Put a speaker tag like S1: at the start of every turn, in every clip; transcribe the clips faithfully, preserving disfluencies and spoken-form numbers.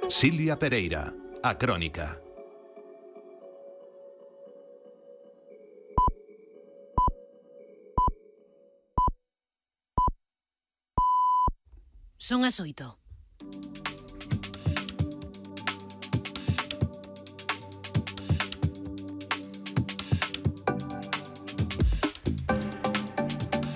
S1: Silvia Pereira, A Crónica.
S2: Son as oito.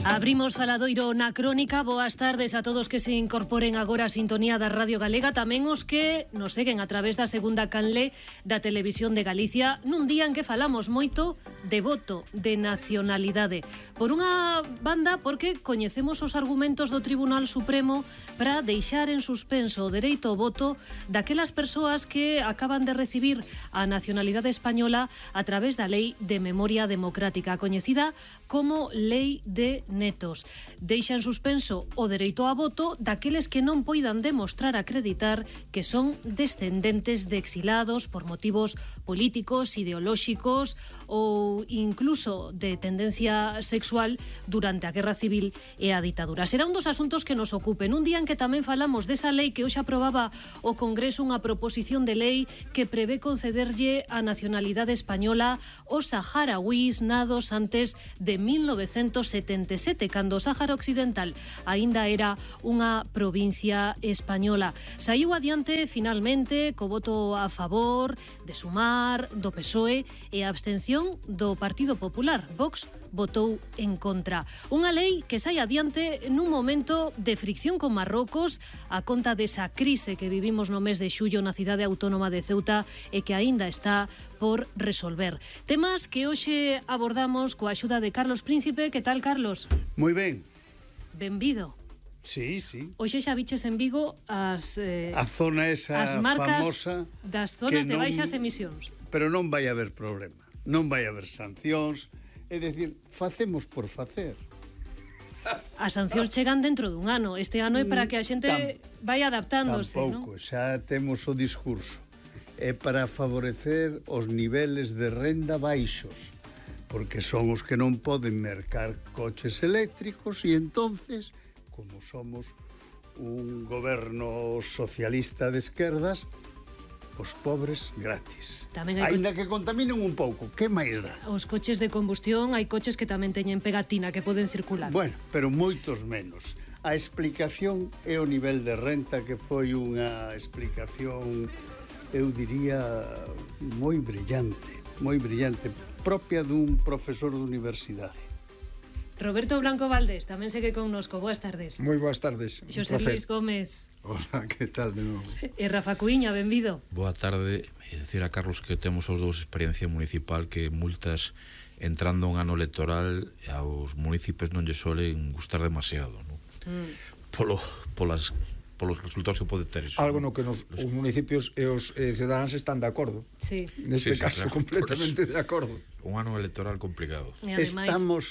S2: Abrimos faladoiro na Crónica. Boas tardes a todos que se incorporen agora a sintonía da Radio Galega, tamén os que nos seguen a través da segunda canle da Televisión de Galicia, nun día en que falamos moito de voto, de nacionalidade. Por unha banda, porque coñecemos os argumentos do Tribunal Supremo para deixar en suspenso o dereito ao voto daquelas persoas que acaban de recibir a nacionalidade española a través da Lei de Memoria Democrática, coñecida como Lei de Netos. Deixa en suspenso o dereito a voto daqueles que non poidan demostrar acreditar que son descendentes de exilados por motivos políticos, ideolóxicos ou incluso de tendencia sexual durante a Guerra Civil e a ditadura. Será un dos asuntos que nos ocupen. Un día en que tamén falamos desa lei que hoxe aprobaba o Congreso, unha proposición de lei que prevé concederlle a nacionalidade española aos saharauís nados antes de mil novecentos setenta e sete, cando o Sáhara Occidental aínda era unha provincia española. Saiu adiante finalmente co voto a favor de Sumar, do P S O E e a abstención do Partido Popular. Vox votou en contra. Unha lei que sai adiante nun momento de fricción con Marrocos a conta desa crise que vivimos no mes de xullo na cidade autónoma de Ceuta e que aínda está por resolver. Temas que hoxe abordamos coa axuda de Carlos Príncipe. Que tal, Carlos?
S3: Moi ben.
S2: Benvido.
S3: Sí, sí.
S2: Hoxe xa viches en Vigo as eh,
S3: a zona esa
S2: as marcas
S3: famosa
S2: das zonas de
S3: non,
S2: baixas emisións.
S3: Pero non vai haber problema. Non vai haber sancións. É dicir, facemos por facer.
S2: As sancións chegan dentro dun ano. Este ano é para que a xente
S3: Tam,
S2: vai adaptándose,
S3: tampouco,
S2: non?
S3: xa temos o discurso. É para favorecer os niveles de renda baixos, porque son os que non poden mercar coches eléctricos e entonces, como somos un goberno socialista de esquerdas, os pobres gratis.
S2: Tamén hai
S3: Ainda que contaminen un pouco, que máis dá?
S2: Os coches de combustión, hai coches que tamén teñen pegatina que poden circular.
S3: Bueno, pero moitos menos. A explicación é o nivel de renta, que foi unha explicación, eu diría, moi brillante, moi brillante, propia dun profesor de universidade.
S2: Roberto Blanco Valdés tamén segue connosco. Boas tardes.
S4: Moi boas tardes.
S2: Xosé Luis Gómez.
S4: Hola, que tal de novo?
S2: E Rafa Cuíña, benvido.
S5: Boa tarde. E decir a Carlos que temos os dous experiencia municipal, que multas entrando un ano electoral aos municipios non lle solen gustar demasiado, non? Mm. Polo, polas, polos resultados que pode ter eso.
S4: Algo no que nos, os municipios e os eh, cidadáns están de acordo.
S2: Sí.
S4: Neste
S5: sí, sí,
S4: caso,
S5: claro,
S4: completamente de acordo.
S5: Un ano electoral complicado.
S2: E ademais,
S3: Estamos...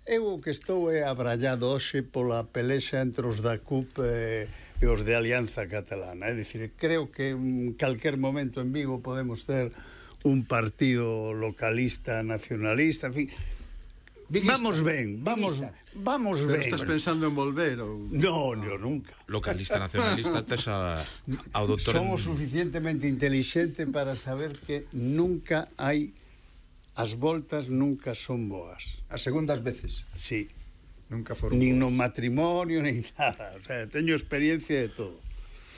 S3: Eu o que estou é abrallado hoxe pola pelexa entre os da C U P e, e os de Alianza Catalana. É dicir, creo que en calquer momento en Vigo podemos ter un partido localista, nacionalista, en fin. Viguista. Vamos ben, vamos, vamos
S4: Pero
S3: ben.
S4: estás pensando en volver ou...
S3: No, no, nunca.
S5: Localista, nacionalista, tes a, ao doctor...
S3: Somos
S5: en...
S3: suficientemente inteligente para saber que nunca hai... As voltas nunca son boas.
S4: As segundas veces.
S3: Sí.
S4: Nunca foron
S3: Nin
S4: boas.
S3: no matrimonio, nin nada. O sea, teño experiencia de todo.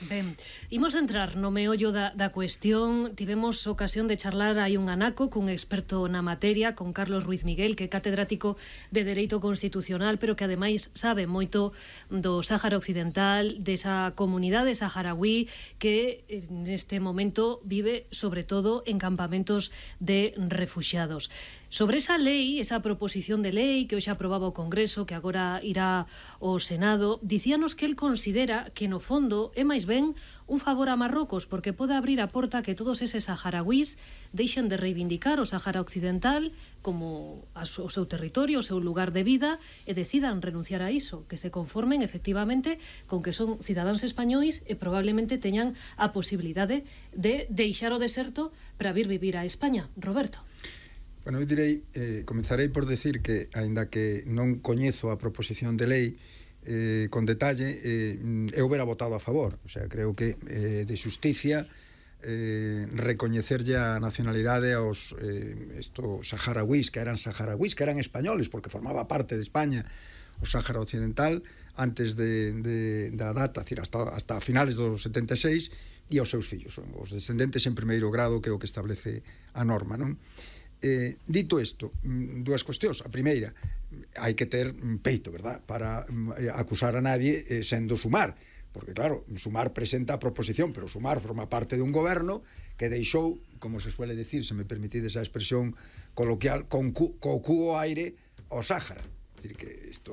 S2: ben, imos entrar no meollo da, da cuestión. Tivemos ocasión de charlar hai un anaco cun experto na materia, con Carlos Ruiz Miguel, que é catedrático de Dereito Constitucional, pero que ademais sabe moito do Sáhara Occidental, desa comunidade saharaui que neste momento vive sobre todo en campamentos de refuxiados. Sobre esa lei, esa proposición de lei que hoxe aprobaba o Congreso, que agora irá ao Senado, dicíanos que el considera que no fondo é máis ben un favor a Marrocos, porque pode abrir a porta que todos eses saharauís deixen de reivindicar o Sáhara Occidental como o seu territorio, o seu lugar de vida, e decidan renunciar a iso, que se conformen efectivamente con que son cidadáns españois e probablemente teñan a posibilidade de deixar o deserto para vir vivir a España. Roberto.
S4: Bueno, eu direi, eh, comenzarei por decir que, aínda que non coñezo a proposición de lei, eh, con detalle, eh, eu hubiera votado a favor. O sea, creo que eh, de xusticia eh, recoñecerlle a nacionalidade aos eh, esto, saharauís, que eran saharauís, que eran españoles, porque formaba parte de España o Sáhara Occidental, antes de, de, da data, decir, hasta, hasta finales dos setenta e seis, e aos seus fillos, os descendentes en primeiro grado, que é o que establece a norma, non? Eh, dito isto, dúas cuestións. A primeira, hai que ter peito, verdad, para eh, acusar a nadie eh, sendo Sumar, porque claro, Sumar presenta a proposición, pero Sumar forma parte de un goberno que deixou, como se suele decir, se me permitides a expresión coloquial, con cu, co cu ao aire ao Sáhara. Decir que isto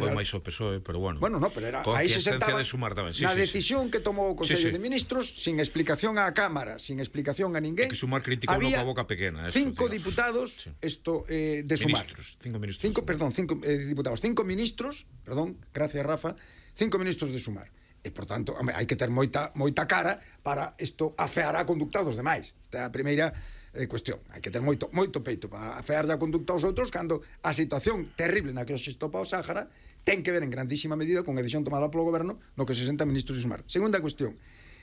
S5: foi máis o P S O E, pero bueno.
S4: Bueno, no, pero era
S5: con
S4: aí se sentaba
S5: de Sumar tamén. Sí,
S4: na
S5: sí,
S4: decisión
S5: sí.
S4: que tomou o Consello
S5: sí, sí.
S4: de Ministros, sin explicación á Cámara, sin explicación a ninguén.
S5: É que Sumar criticou no coa boca pequena. Eso,
S4: cinco
S5: digamos.
S4: diputados,
S5: sí.
S4: esto eh, de Sumar.
S5: Ministros, cinco ministros.
S4: Cinco, perdón, cinco eh, diputados, cinco ministros, perdón, gracias Rafa, cinco ministros de Sumar. E, por tanto, hai que ter moita, moita cara para isto afear a conducta dos demais. Esta é a primeira eh, cuestión. Hai que ter moito, moito peito para afear a conducta aos outros cando a situación terrible na que se estopa o Sáhara ten que ver en grandísima medida con a decisión tomada polo goberno no que se senta ministros de Sumar. Segunda cuestión.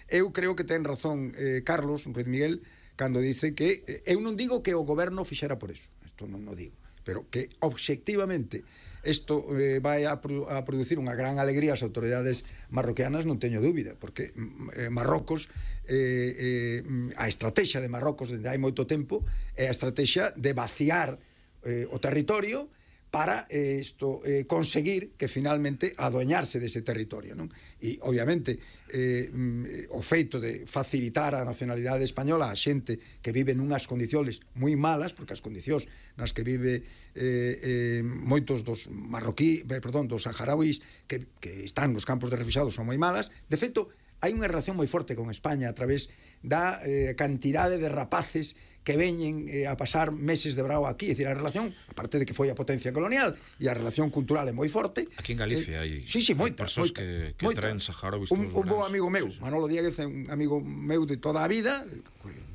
S4: Eu creo que ten razón eh, Carlos Ruiz Miguel cando dice que eh, eu non digo que o goberno fixera por eso. Isto non o digo. Pero que obxectivamente isto eh, vai a, produ a producir unha gran alegría ás autoridades marroquianas, non teño dúbida, porque eh, Marrocos eh, eh, a estrategia de Marrocos dende hai moito tempo é a estrategia de vaciar eh, o territorio para eh, isto eh, conseguir que finalmente adueñarse dese territorio, non? E obviamente eh, mm, o feito de facilitar a nacionalidade española a xente que vive nunhas condicións moi malas, porque as condicións nas que vive eh, eh, moitos dos marroquí, perdón, dos saharauís que, que están nos campos de refuxiados son moi malas. De feito, hai unha relación moi forte con España a través da eh, cantidade de rapaces que veñen eh, a pasar meses de brao aquí. É dicir, a relación, aparte de que foi a potencia colonial, e a relación cultural é moi forte.
S5: Aquí en Galicia hai,
S4: eh, sí, sí, moita,
S5: persoas
S4: moita,
S5: que, que
S4: moita.
S5: traen saharauis
S4: un,
S5: todos
S4: un bo
S5: grandes.
S4: amigo meu, sí, sí. Manolo Dieguez, un amigo meu de toda a vida,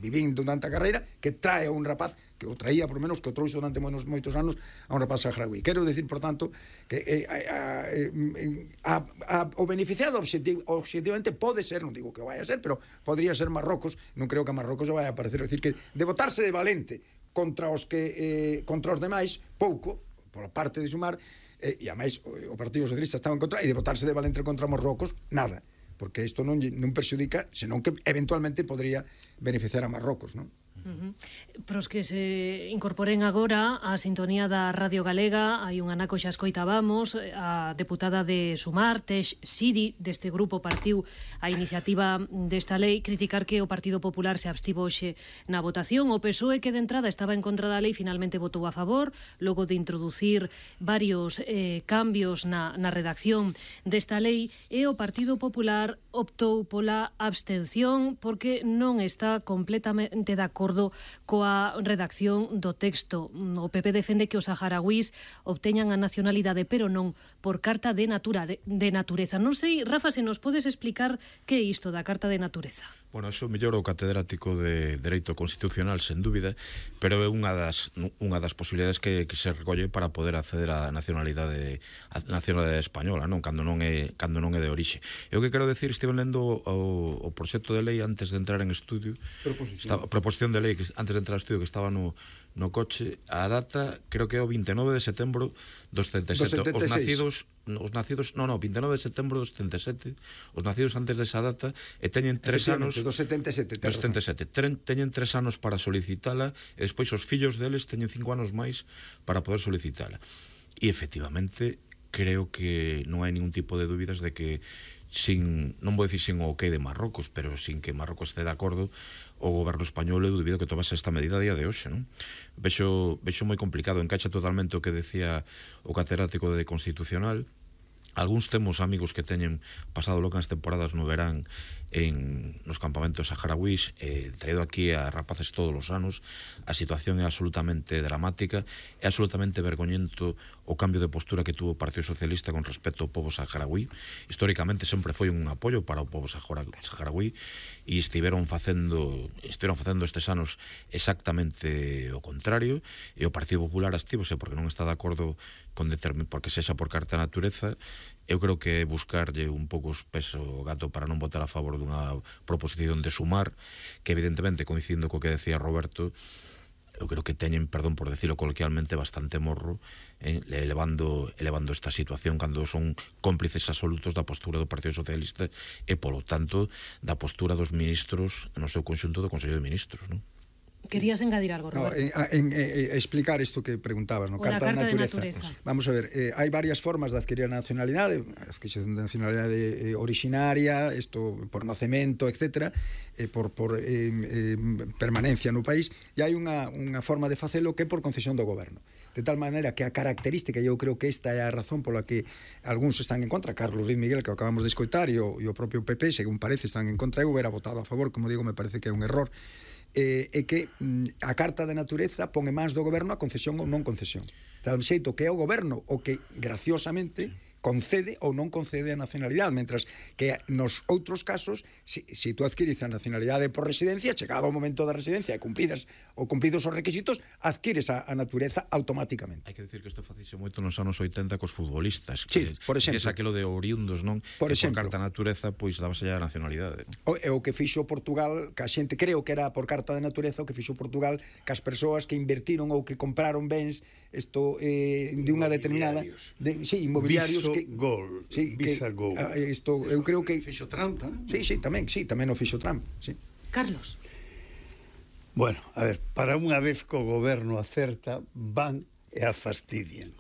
S4: vivín durante a carreira, que trae a un rapaz, que o traía por menos, que o trouxe durante moitos, moitos anos a un rapaz saharaui. Quero decir, por tanto, que eh, a, a, a, a, o beneficiado objetiv, objetivamente pode ser, non digo que vai a ser, pero podría ser Marrocos. Non creo que a Marrocos vai a aparecer. É dicir, que de botarse de valente contra os que eh, contra os demais, pouco, pola parte de Sumar, eh, e a máis o, o Partido Socialista estaba en contra, e de botarse de valente contra Marrocos, nada, porque isto non, non perxudica, senón que eventualmente podría beneficiar a Marrocos, non?
S2: Uh -huh. Pros que se incorporen agora á sintonía da Radio Galega, hai un anaco xa escoitábamos, a deputada de Sumar, Tesh Sidi, deste grupo partiu a iniciativa desta lei, criticar que o Partido Popular se abstivo hoxe na votación. O P S O E, que de entrada estaba en contra da lei, finalmente votou a favor, logo de introducir varios eh, cambios na, na redacción desta lei, e o Partido Popular optou pola abstención porque non está completamente de acordo coa redacción do texto. O P P defende que os saharauís obteñan a nacionalidade, pero non por carta de, natura, de, de natureza. Non sei, Rafa, se nos podes explicar que é isto da carta de natureza.
S5: Bueno, eso mellor o catedrático de Dereito Constitucional, sen dúbida, pero é unha das unha das posibilidades que, que se recolle para poder acceder á nacionalidade a nacionalidade española, non, cando non é cando non é de orixe. Eu que quero decir, estive lendo o, o proxecto de lei antes de entrar en estudio, proposición, estaba, proposición de lei que antes de entrar ao estudio, que estaba no no coche, a data creo que é o vinte e nove de setembro dos setenta e sete. Os nacidos, os nacidos, no, no, vinte e nove de setembro dos setenta e sete, os nacidos antes desa data e teñen tres anos
S4: dos setenta e sete,
S5: dos setenta e sete, teñen tres anos para solicitala, e despois os fillos deles teñen cinco anos máis para poder solicitala. E efectivamente creo que non hai ningún tipo de dúbidas de que sin, non vou dicir sin o ok de Marrocos, pero sin que Marrocos este de acordo, o goberno español é dubido que tomase esta medida a día de hoxe, non? Vexo, vexo moi complicado, encaixa totalmente o que decía o catedrático de Constitucional. Algúns temos amigos que teñen pasado locas temporadas no verán en nos campamentos saharauís, eh, traído aquí a rapaces todos os anos. A situación é absolutamente dramática, é absolutamente vergoñento o cambio de postura que tuvo o Partido Socialista con respecto ao povo saharaui. Históricamente sempre foi un apoio para o povo saharaui e estiveron facendo estiveron facendo estes anos exactamente o contrario, e o Partido Popular astívose porque non está de acordo con determin, porque sexa por carta de natureza, eu creo que buscarlle un pouco os peso ao gato para non votar a favor dunha proposición de Sumar, que evidentemente, coincidindo co que decía Roberto, eu creo que teñen, perdón por decirlo coloquialmente, bastante morro eh, elevando, elevando esta situación cando son cómplices absolutos da postura do Partido Socialista e, polo tanto, da postura dos ministros no seu conxunto do Consello de Ministros, non?
S2: Querías engadir algo, Roberto.
S4: No, en, en, en explicar isto que preguntabas, no?
S2: Carta, carta de, naturaleza.
S4: de natureza. Vamos a ver, eh, hai varias formas de adquirir a nacionalidade, a adquisición de nacionalidade eh, originaria, isto por nacemento, etcétera, eh, por, por eh, eh, permanencia no país, e hai unha, unha forma de facelo que é por concesión do goberno. De tal maneira que a característica, e eu creo que esta é a razón pola que algúns están en contra, Carlos Ruiz Miguel, que acabamos de escoitar, e o, e o propio P P, según parece, están en contra, eu hubiera votado a favor, como digo, me parece que é un error, eh, é que mm, a Carta de Natureza pon en mans do goberno a concesión ou non concesión. Tal xeito que é o goberno o que, graciosamente, concede ou non concede a nacionalidade, mentras que nos outros casos, si, si tú adquires a nacionalidade por residencia, chegado o momento da residencia e cumpridas ou cumpridos os requisitos, adquires a, a natureza automáticamente.
S5: Hai que decir que isto facixe moito nos anos oitenta cos futbolistas,
S4: sí,
S5: que,
S4: por exemplo,
S5: que aquilo de oriundos, non?
S4: Por
S5: que
S4: exemplo,
S5: por carta natureza, pois dábase a nacionalidade, non?
S4: O, é o que fixo Portugal, que a xente creo que era por carta de natureza, o que fixo Portugal, que as persoas que invertiron ou que compraron bens isto eh, de unha determinada de, sí, inmobiliarios
S3: Viso
S4: que
S3: Gol,
S4: sí,
S3: Visa
S4: que,
S3: Gol.
S4: A, isto eu creo que
S3: fixo Trump, eh?
S4: Sí, sí, tamén, sí, tamén o fixo Trump, sí.
S2: Carlos.
S3: Bueno, a ver, para unha vez que o goberno acerta, van e a fastidian.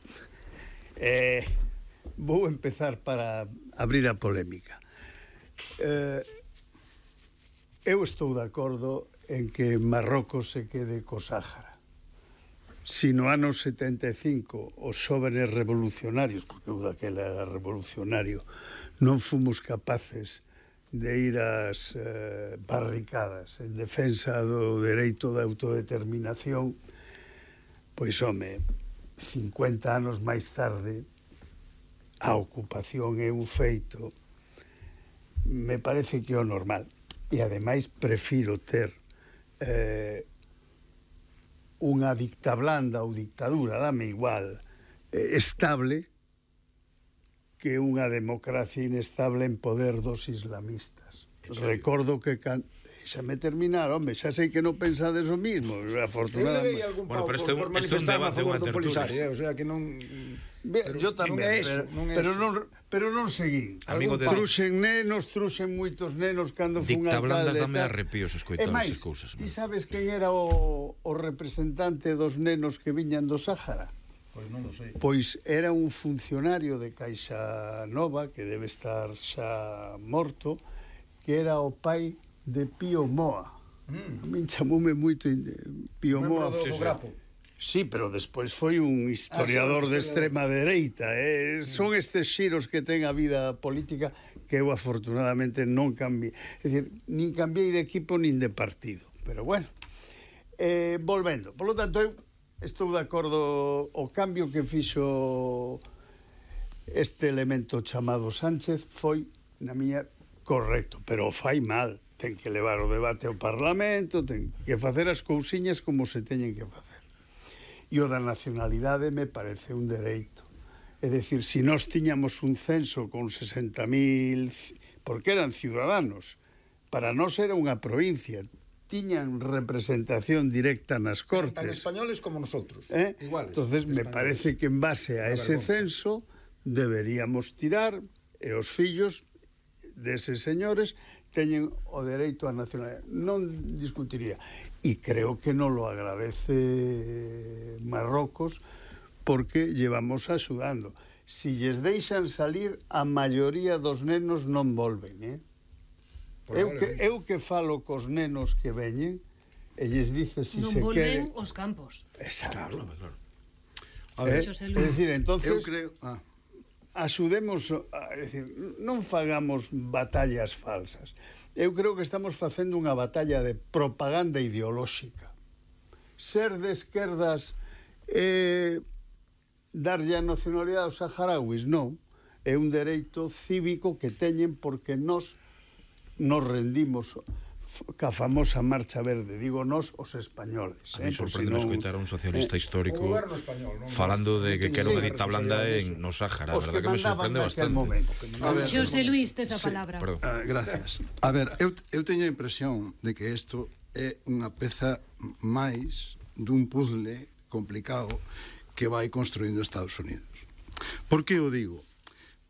S3: Eh, vou empezar para abrir a polémica. Eh, eu estou de acordo en que Marrocos se quede co Sáhara. Si no ano setenta e cinco os xóvenes revolucionarios, porque eu daquela era revolucionario, non fomos capaces de ir ás eh, barricadas en defensa do dereito de autodeterminación, pois, home, cincuenta anos máis tarde, a ocupación é un feito, me parece que é o normal. E, ademais, prefiro ter eh, unha dictablanda ou dictadura, dame igual, eh, estable, que unha democracia inestable en poder dos islamistas. Recordo que... Can... Déxame terminar, home, xa sei que non pensades o mismo, afortunadamente.
S5: Bueno, pero este é un, este un debate, unha tertulia.
S4: O sea, que non...
S3: Pero, yo tamén, non é eso, pero, non é pero, non, pero non seguín.
S5: Amigo de...
S3: Truxen nenos, truxen moitos nenos cando fun alcalde.
S5: Dictablandas dame arrepíos escoitando esas cousas.
S3: Ti sabes quen era o, o representante dos nenos que viñan do Sáhara?
S4: Pois non o sei.
S3: Pois era un funcionario de Caixa Nova, que debe estar xa morto, que era o pai de Pío Moa. Mm. A min chamoume moito Pío Moa.
S4: Do, do Grapo.
S3: Sí, pero despois foi un historiador ah, sí, de extrema dereita. Eh? Mm. Son estes xiros que ten a vida política que eu afortunadamente non cambiei. É dicir, nin cambiei de equipo nin de partido. Pero bueno, eh, volvendo. Por lo tanto, eu estou de acordo o cambio que fixo este elemento chamado Sánchez foi, na miña, correcto, pero o fai mal. Ten que levar o debate ao Parlamento, ten que facer as cousiñas como se teñen que facer. E o da nacionalidade me parece un dereito. É dicir, se nós tiñamos un censo con sesenta mil, porque eran ciudadanos, para nós era unha provincia, tiñan representación directa nas Cortes.
S4: Tan españoles como nosotros,
S3: eh?
S4: iguales.
S3: Entonces, me parece que en base a ese censo deberíamos tirar, e os fillos deses señores teñen o dereito á nacionalidade. Non discutiría. E creo que non lo agradece Marrocos porque llevamos axudando. Si lles deixan salir, a maioría dos nenos non volven, eh? Eu que, eu que falo cos nenos que veñen e lles dice si
S2: non
S3: se quere...
S2: Non volven os campos.
S3: Exacto.
S5: Claro, claro.
S3: A ver, eh, é dicir, entonces...
S4: Eu creo... Ah.
S3: Axudemos, a, é dicir, non fagamos batallas falsas. Eu creo que estamos facendo unha batalla de propaganda ideolóxica. Ser de esquerdas eh, darlle a nacionalidade aos saharauis, non. É un dereito cívico que teñen porque nós nos rendimos ca famosa Marcha Verde, digo nós os españoles.
S5: A mí
S3: eh,
S5: sorprende
S3: non...
S5: escoitar a un socialista
S3: eh,
S5: histórico
S4: español, non?
S5: falando de que
S4: Sí,
S5: quero
S4: sí,
S5: dedita blanda en no Sáhara, a verdad que me sorprende bastante.
S3: A ver,
S2: Xosé Luis, tes a
S6: Sí,
S2: palabra.
S5: Perdón.
S6: Ah, gracias. A ver, eu, eu teño a impresión de que isto é unha peza máis dun puzzle complicado que vai construindo Estados Unidos. Por que o digo?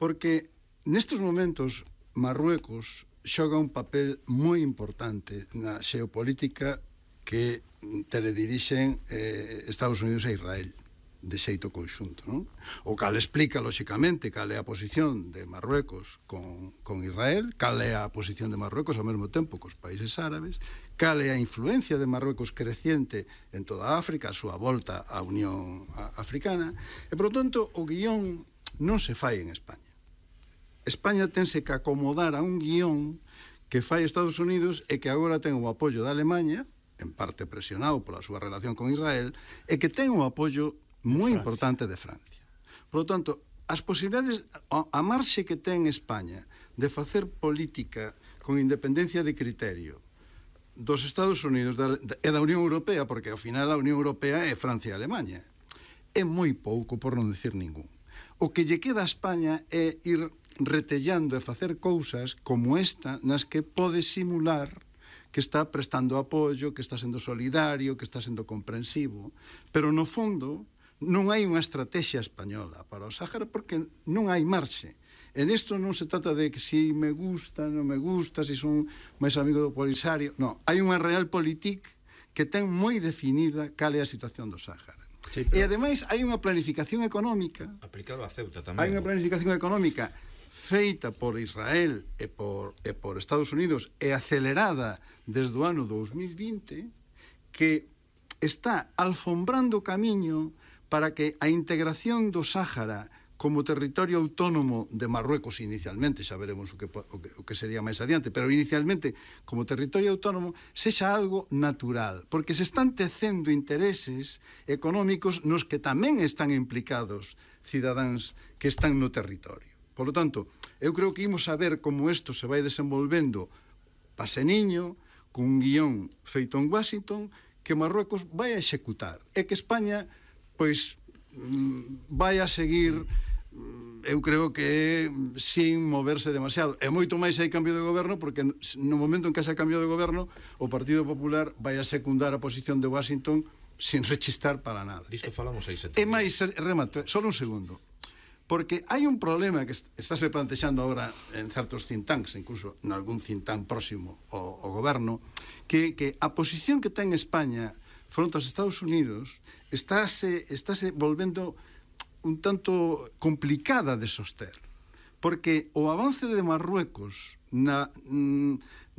S6: Porque nestes momentos Marruecos xoga un papel moi importante na xeopolítica que teledirixen eh, Estados Unidos e Israel de xeito conxunto, non? O cal explica, lóxicamente, cal é a posición de Marruecos con, con Israel, cal é a posición de Marruecos ao mesmo tempo cos países árabes, cal é a influencia de Marruecos creciente en toda África, a súa volta á Unión Africana, e, por lo tanto, o guión non se fai en España. España tense que acomodar a un guión que fai Estados Unidos e que agora ten o apoio da Alemanha, en parte presionado pola súa relación con Israel, e que ten o apoio moi importante de Francia. Por lo tanto, as posibilidades, a marxe que ten España de facer política con independencia de criterio dos Estados Unidos e da Unión Europea, porque ao final a Unión Europea é Francia e Alemanha, é moi pouco, por non decir ningún. O que lle queda a España é ir retellando e facer cousas como esta nas que pode simular que está prestando apoio, que está sendo solidario, que está sendo comprensivo, pero no fondo non hai unha estrategia española para o Sáhara porque non hai marxe. En isto non se trata de que si me gusta, non me gusta, si son máis amigo do Polisario, non, hai unha realpolitik que ten moi definida cal é a situación do Sáhara. Sí, pero... E ademais hai unha planificación económica
S5: aplicado a Ceuta tamén.
S3: Hai unha planificación económica feita por Israel e por, e por Estados Unidos e acelerada desde o ano dos mil vinte que está alfombrando o camiño para que a integración do Sáhara como territorio autónomo de Marruecos inicialmente, xa veremos o que, o que, o que sería máis adiante, pero inicialmente como territorio autónomo sexa algo natural, porque se están tecendo intereses económicos nos que tamén están implicados cidadáns que están no territorio. Por lo tanto, eu creo que imos a ver como isto se vai desenvolvendo paseniño, con un guión feito en Washington, que Marruecos vai a executar. E que España, pois, vai a seguir, eu creo que sin moverse demasiado. E moito máis hai cambio de goberno, porque no momento en que haxa cambio de goberno, o Partido Popular vai a secundar a posición de Washington sin rechistar para nada.
S5: Disto falamos aí sete.
S3: E máis, remato, só un segundo. Porque hai un problema que estáse plantexando agora en certos think tanks, incluso en algún think tank próximo ao, ao goberno, que, que a posición que ten España fronte aos Estados Unidos estáse, estáse volvendo un tanto complicada de soster. Porque o avance de Marruecos na,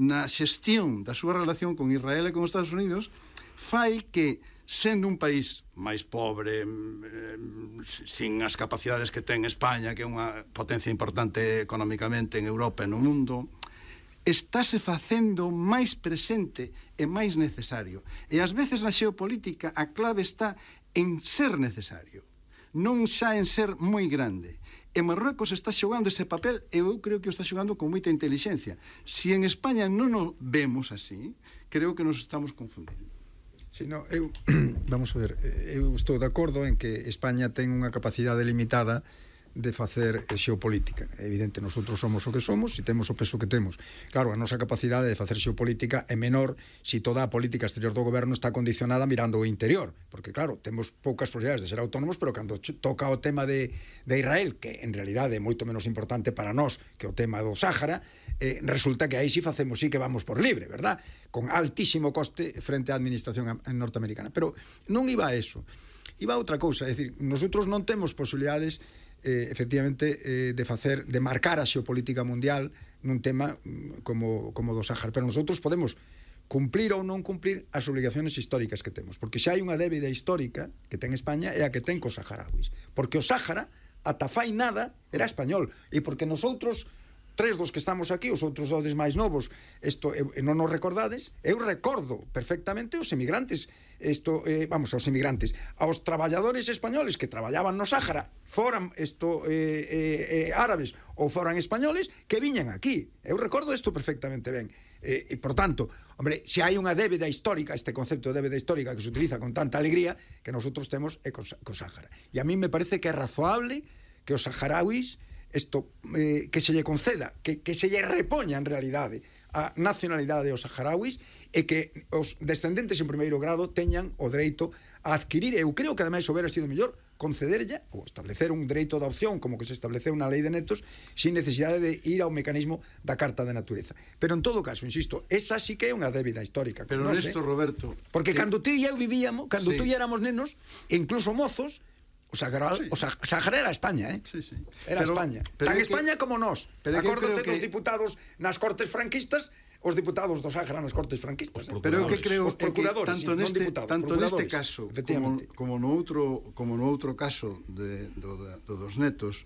S3: na xestión da súa relación con Israel e con os Estados Unidos fai que, sendo un país máis pobre, sin as capacidades que ten España, que é unha potencia importante económicamente en Europa e no mundo, estáse facendo máis presente e máis necesario. E ás veces na xeopolítica a clave está en ser necesario, non xa en ser moi grande. E Marruecos está xogando ese papel e eu creo que o está xogando con moita inteligencia. Si en España non o vemos así, creo que nos estamos confundindo.
S4: Sí, no, eu, vamos a ver, eu estou de acordo en que España ten unha capacidade limitada de facer xeopolítica. É evidente, nosotros somos o que somos e temos o peso que temos. Claro, a nosa capacidade de facer xeopolítica é menor se toda a política exterior do goberno está condicionada mirando o interior, porque claro, temos poucas posibilidades de ser autónomos, pero cando toca o tema de, de Israel, que en realidade é moito menos importante para nós que o tema do Sáhara, eh, resulta que aí sí facemos, sí que vamos por libre, verdad? Con altísimo coste frente á administración norteamericana. Pero non iba a eso. Iba a outra cousa, é dicir, nosotros non temos posibilidades Eh, efectivamente eh, de facer, de marcar a xeopolítica mundial nun tema como, como do Sáhara, pero nosotros podemos cumplir ou non cumplir as obligaciones históricas que temos, porque xa hai unha débida histórica que ten España e a que ten cos saharauis, porque o Sáhara ata fai nada era español, e porque nosotros tres dos que estamos aquí, os outros dois máis novos, isto eu, non nos recordades, eu recordo perfectamente os emigrantes isto, eh, vamos, aos inmigrantes, aos traballadores españoles que traballaban no Sáhara, foran isto eh, eh, eh, árabes ou foran españoles, que viñan aquí. Eu recordo isto perfectamente ben. Eh, e, por tanto, hombre, se hai unha débeda histórica, este concepto de débeda histórica que se utiliza con tanta alegría, que nosotros temos é co, co Sáhara. E a mí me parece que é razoable que os saharauis, isto, eh, que se lle conceda, que, que se lle repoña en realidade a nacionalidade aos saharauis e que os descendentes en primeiro grado teñan o dereito a adquirir, eu creo que ademais houbera sido mellor concederlle ou establecer un dereito de opción como que se estableceu na lei de netos sin necesidade de ir ao mecanismo da Carta de Natureza. Pero en todo caso, insisto, esa sí que é unha débida histórica.
S6: Pero
S4: no
S6: nesto,
S4: sé,
S6: Roberto...
S4: porque
S6: que...
S4: cando tú e eu vivíamos, cando
S6: Sí.
S4: tú e éramos nenos, e incluso mozos, o Sahara,
S6: Sí.
S4: o Sahara era España, eh?
S6: Sí, sí.
S4: Era
S6: Pero-
S4: España.
S6: pero
S4: Tan
S6: é que-
S4: España como nós.
S6: pero é que eu
S4: Acórdate
S6: creo
S4: dos
S6: que-
S4: diputados nas Cortes franquistas, os diputados do Sahara nas Cortes franquistas. eh?
S6: Pero eu que creo
S4: Os
S6: é que
S4: procuradores,
S6: tanto
S4: sí, non
S6: neste
S4: diputados,
S6: tanto neste
S4: procuradores,
S6: caso como
S4: efectivamente.
S6: como no outro como no outro caso de do, da- do dos netos,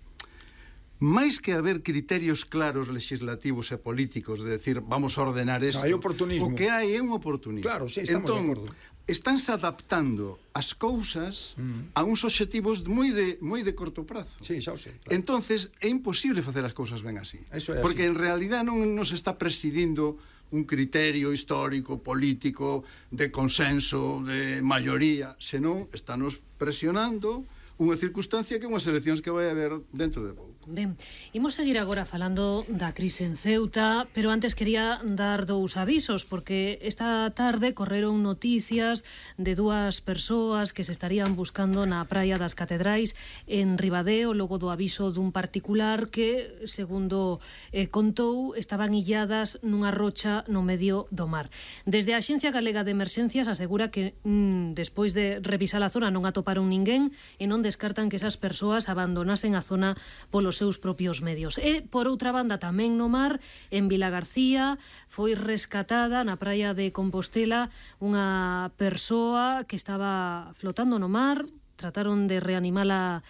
S6: máis que haber criterios claros legislativos e políticos de decir vamos a ordenar isto,
S4: hai oportunismo.
S6: o que hai é un oportunismo.
S4: Claro, sí, estamos
S6: entón,
S4: de acordo.
S6: estánse adaptando as cousas
S4: Mm.
S6: a uns obxectivos moi de moi de corto prazo.
S4: Sí, xa o sei. Claro.
S6: Entonces é imposible facer as cousas ben así.
S4: Eso é
S6: porque
S4: así.
S6: en realidad non nos está presidindo un criterio histórico, político, de consenso, de maioría, senón estános presionando unha circunstancia que é unhas eleccións que vai haber dentro de pouco.
S2: Ben, imos seguir agora falando da crise en Ceuta, pero antes quería dar dous avisos, porque esta tarde correron noticias de dúas persoas que se estarían buscando na praia das Catedrais en Ribadeo, logo do aviso dun particular que, segundo eh, contou, estaban illadas nunha rocha no medio do mar. Desde a Axencia Galega de Emerxencias asegura que mm, despois de revisar a zona non atoparon ninguén e non descartan que esas persoas abandonasen a zona polos seus propios medios. E, por outra banda, tamén no mar, en Vila García, foi rescatada na praia de Compostela unha persoa que estaba flotando no mar, trataron de reanimala